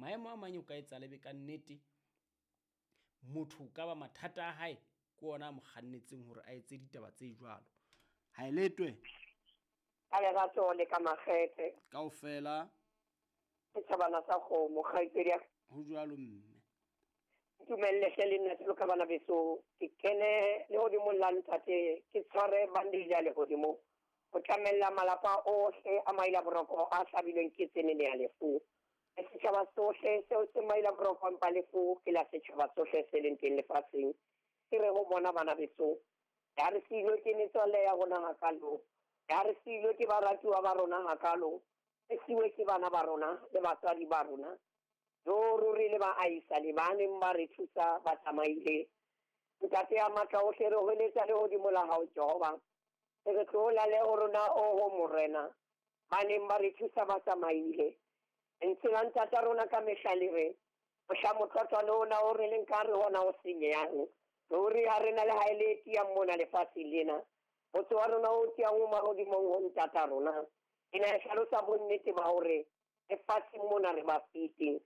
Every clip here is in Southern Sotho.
Maemo a mang o ka etsa lebe ka nnete motho ka ba mathata a hae ke ona a mo kgannetseng hore a etse ditaba tse jwalo. Ha e letwe. Ka lerato le ka makgethe. Kaofela. Ke thabana sa kgomo kgaitsedi ya. Ho jwalo mme. Ntumelle hle le nna jwalo ka bana beso ke kene lehodimong la ntate ke tshware bandage ya lehodimo ho tlamella malapa ohle a maila boroko a hlabilweng ke tsenene ya lefu. Le setjhaba sohle seo se maila boroko empa lefu ke la setjhaba sohle se leng teng lefatsheng. Ke re ho bona bana beso ya re siilwe ke metswalle ya rona hakalo, ya re siilwe ke baratuwa ba rona hakalo, re siwe ke bana ba rona le batswadi ba rona. Jo ruri le baahisane ba neng ba re thusa ba tsamaile. Ntate ya matla ohle re hweletsa lehodimo la hao Jehova. Re tlola le ho rona oho Morena. Ba neng ba re thusa ba tsamaile. Lentswe la ntata rona ka mehla le re mohla motlotlwane ona o re leng ka re hona o senyehang. Ruri ha re na le ha e le tiyang mona lefatsheng lena. Motse wa rona o tiyang o mahodimong ho ntata rona. Ena e hlalosa bonnete ba hore lefatsheng mona re ba fete.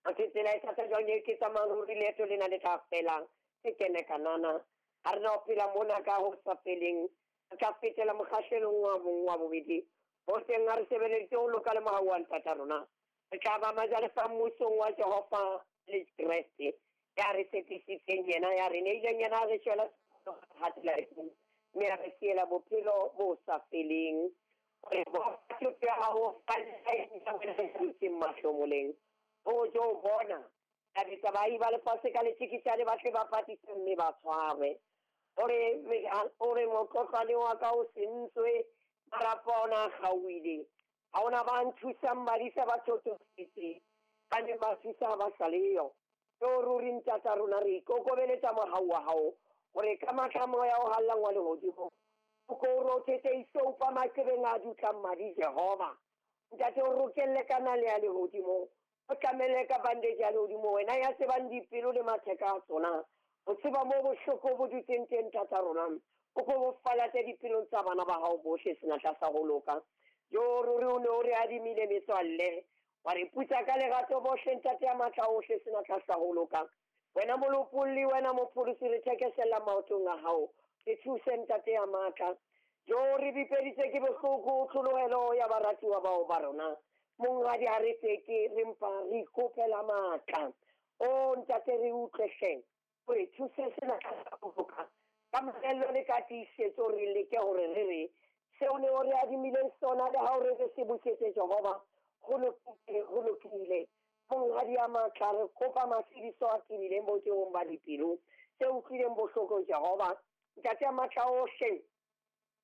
Athe tsela e thata jwang e ke tsamayang ruri leeto lena le tla fela ke kene kanana. Ha re na ho phela mona ka ho sa feleng. Re tla fetela mokgahlelong wa bong wa bobedi. Ho teng ha re sebeleditse ho loka le mohau wa ntata rona. Re tla ba majalefa mmusong wa Jehova le Kreste. Ya re tshepisitseng yena, ya re neileng yena, re shwela hatela lefung, mme a re siela bophelo bo sa feleng. Hore batho ya hao dutseng mahlomoleng. Ho jo bona a bitsa baahi ba lefatshe ka letjeketjane ba tle ba patise mme ba tshwarwe. Hore motlotlwane wa ka o sentswe, marapo a ona a kgaohile. Ha hona ba nthusang badisa ba thotofetse, ba neng ba thusa ha ba sa leyo. Jo ruri ntata rona re ikokobeletsa mohau wa hao hore ka matla moya o hallang wa lehodimo o ko o rothetse isoupa maqebeng a dutlang madi Jehova. Ntate o rokelle ka nale ya lehodimo, o tlamelle ka bandage ya lehodimo, wena ya tsebang dipelo le matheka a tsona. O tseba moo bohloko bo dutseng teng ntata rona, o ko bo falatse dipelong tsa bana ba hao bohle senatla sa ho loka. Jo ruri o ne o re adimile metswalle, wa re putsa ka lerato bohle ntate ya matla ohle senatla sa ho loka. Wena molopolli, wena mopholosi, re thekesella maotong a hao, re thuse ntate ya matla. Jo re bipeditse ke bohloko tlholohelo ya baratuwa bao ba rona. Monghadi ha re tseke, re mpa re ikopela matla. O ntate re utlwe hle, o re thuse senatla sa ho loka. Ka mamello le ka tiisetso re leke hore re re seo ne o re adimileng sona le ha o re re se busetse Jehova. Ho lokile, ho lokile. Monghadi ya matla re kopa matshediso a tebileng botebong ba dipelo tse utlwileng bohloko Jehova. Ntate ya matla ohle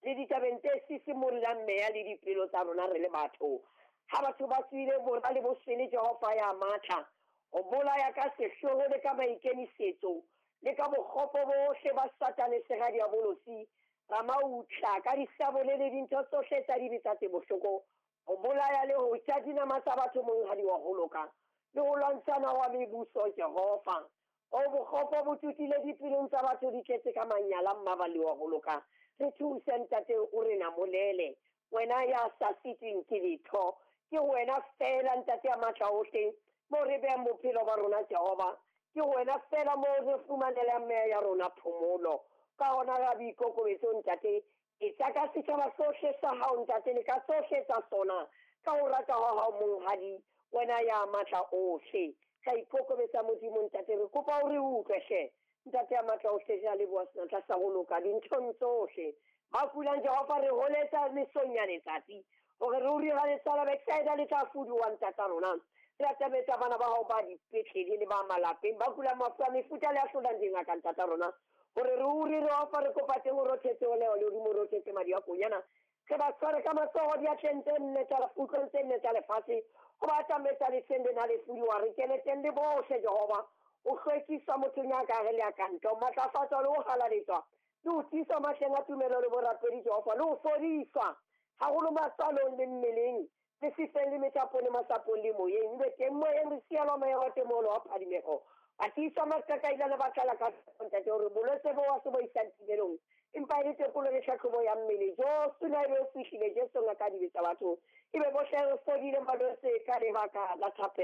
le ditabeng tse sisimollang meya le dipelo tsa rona re le batho. Ha batho ba tswile bora le bosele Jehova ya matla ho bolaya ka sehloho le ka maikemisetso le ka bokgopo bohle ba Satane sera diabolosi ramautla ka disabole le dintho tsohle tsa dibe tsa tse bohloko ho bolaya le ho ja dinama tsa batho monghadi wa ho loka le ho lwantshana wa mebuso Jehova. O bokgopo bo tutile dipelong tsa batho di tletse ka manyala mmaballi wa ho loka. Re thuse ntate o re namolele, wena ya sa sitweng ke letho. Ke wena fela ntate ya matla ohle mo re behang bophelo ba rona Jehova. Ke wena fela mo re fumanelang meya ya rona phomolo. Ka hona ra boikokobetso ntate, etsa ka setjhaba sohle sa hao ntate le ka tsohle tsa sona ka ho rata ha hao monghadi, wena ya matla ohle. Ka ikokobetsa Modimo ntate, re kopa o re utlwe hle. Ntate ya matla ohle re a leboha senatla sa ho loka dinthong tsohle. Ba kulang Jehova re holetsa mesong ya letsatsi hore ruri ha le sala Bethsaida le tla fuduwa ntata rona. Re atametsa bana ba hao ba dipetlele le ba malapeng ba kulang mafu a mefuta le a hlolang dingaka ntata rona. Hore ruri re ofa re kopa teng o rothetse o leo lehodimo o rothetse madi a konyana. Re ba tshware ka matsoho diatleng tse nne tsa kutlong tse nne tsa lefatshe ho ba atametsa leseng lena le fuduwa. Re kene teng le bohle Jehova. O hlwekiswa mothong ya ka re le ya ka ntle, o matlafatswa le ho halaletswa le ho tiiswa mahleng a tumelo le borapedi Jehova, le ho fodiswa haholo matswalong le mmeleng le sefeng le methapong le masapong le moyeng. Ebe teng moyeng re sielwa moya wa temolo wa phadimeho. Ba tiiswa maqaqailane ba tlala ka ntate hore bolwetse bo wa se bo isang timelong empa e le tekolo le tlhahlobo ya mmele. Jesu na ebe o fihlile Jesu ngaka dibe tsa batho, ebe bohle re fodile malwetse ka lebaka la thapelo.